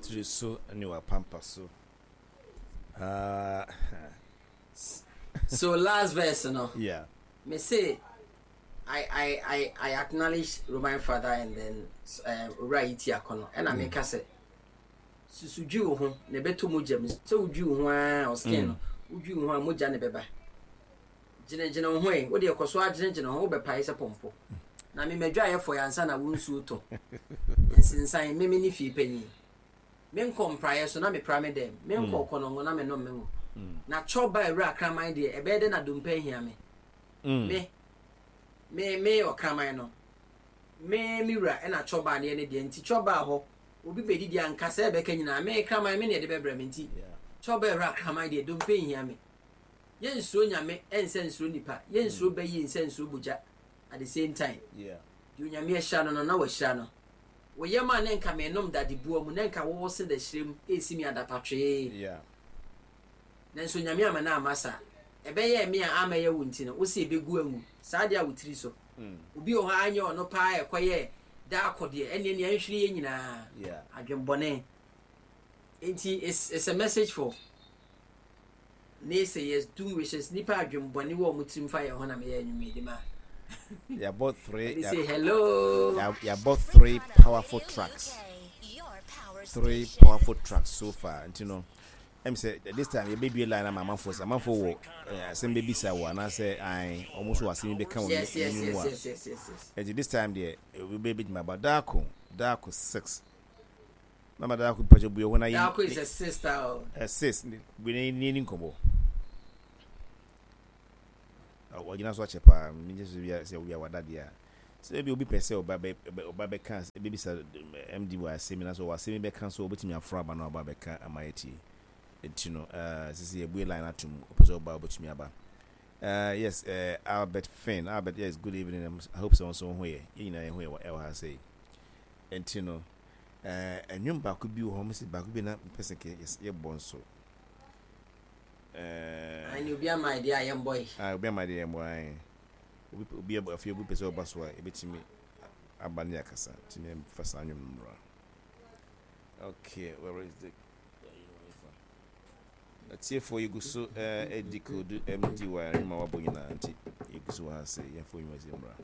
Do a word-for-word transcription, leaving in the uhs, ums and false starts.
Tiri so ne wapampa so. Uh, So last verse no, yeah. Mese I I I I acknowledge Roman father and then um Owura Yiti Akɔnɔ, ɛna meka sɛ susu dwi wo ho na ɛbɛtɔ mogya mu. Sɛ wodwi wo ho a, o skin no, wodwi wo ho a, mogya ne bɛba. Gyinagyina wo ho yi, wode ɛkɔ so agyinagyina ho, wobɛpae sɛ pɔmpɔ na memadwa ayɛ fɔ ansa na wo nsuo tɔ. Nsensan meme ne fie panyin, menkɔ mpraeɛ so na mepra me dɛm, menkɔ kɔnɔngo na menom me ngo na kyɔba awura kraman deɛ, ɛbɛyɛ dɛ na dompa ahia me. Mm. me me me ɔkraman no, me me wura ɛna kyɔba adeɛ ne deɛ, nti kyɔba hɔ obi bɛdidi a, nkasa ɛbɛka nyinaa, me kraman me ne ɛde bɛbrɛ me, nti Yeah. kyɔba awura kraman deɛ, dompa nhia me. Yɛnsuro Nyame ɛnsɛ nsuro nipa, yɛnsuro bɛyi nsɛ nsuro bogya at the same time. Yeah. Deɛ Onyame ahyira no no na wahyira no. Wɔyɛ ma ne nka menom dadeboa mu na nka wɔwɔ se da hyerɛ mu ɛsi mi adapatwee. Yeah. Nanso Nyame ama no ama saa, ɛbɛyɛ me a amɛyɛ wo nti no, wo sɛ ɛbɛgu angu saa deɛ a wo tiri so. Mm. Obi wɔ hɔ a anyɛ ɔno paa, ɛkɔyɛ daakɔ deɛ, ɛneɛ nea nhwere yɛ nyinaa Yeah. adwenbɔne. Nti it's, it's a message for naysayers, doom wishers, nipa adwenbɔne wɔ ɔmo tirim fa yɛn ho na meyɛ anwummerɛ di ma. Yɛabɔ three. Ɛde say hello. Yɛabɔ three powerful tracks. Three powerful tracks so far. Nti no, ɛm sɛ this time yɛbɛbie line ama amanfoɔ sɛ amanfoɔ wɔ eh, asɛm bɛbisa wɔ anaasɛ ae ɔmo nso wɔ asɛm bi bɛka wɔ yes yes anim yes a. yes yes yes yes Nti this time deɛ, wobɛbɛgyina aba daako daako six. Mama daako, mpatwa bue hɔ na yɛ Daako is a sister o. uh, six bue na ni ni nkɔmmɔ. Ɔgyina so akyɛ paa, megye so bia sɛ obi a wada deɛ a, sɛ ebi obi pɛ sɛ ɔba bɛ ɔba bɛka bɛbisa M D wɔ asɛm na so wɔ asɛm bɛka so, ɔbɛtumi aforo aba na ɔba bɛka ama yɛtie. Nti no, uh, sisi yɛbue line atom, ɔpɛ sɛ ɔba, ɔbɛtumi aba. uh, yes uh, Albert Finn, Albert, yes, good evening. I hope sɛ nso ho yɛ, yɛn nyinaa yɛn ho yɛ wɔ ɛwɔ ha sɛ. Nti no, uh, ɛnwom baako bi wɔ hɔ, mo sɛ baako bi na mpɛ sɛ kɛ yɛbɔ nso. uh, Ɛne obi ama idea a yɛmbɔ yi. Ah, obi ama deɛ yɛmbɔ ae. Obi obi afei obi pɛ sɛ ɔba so a, ebɛtumi aba ne akasa, nti ne fa saa nnwom no mmra. Okay, where is the atiefoɔ? Yɛgu so ɛdi code M D wɔ nnwom a wabɔ nyinaa, nti yɛgu so wɔ ha sɛ yɛmfa nnwuma sɛ mmra.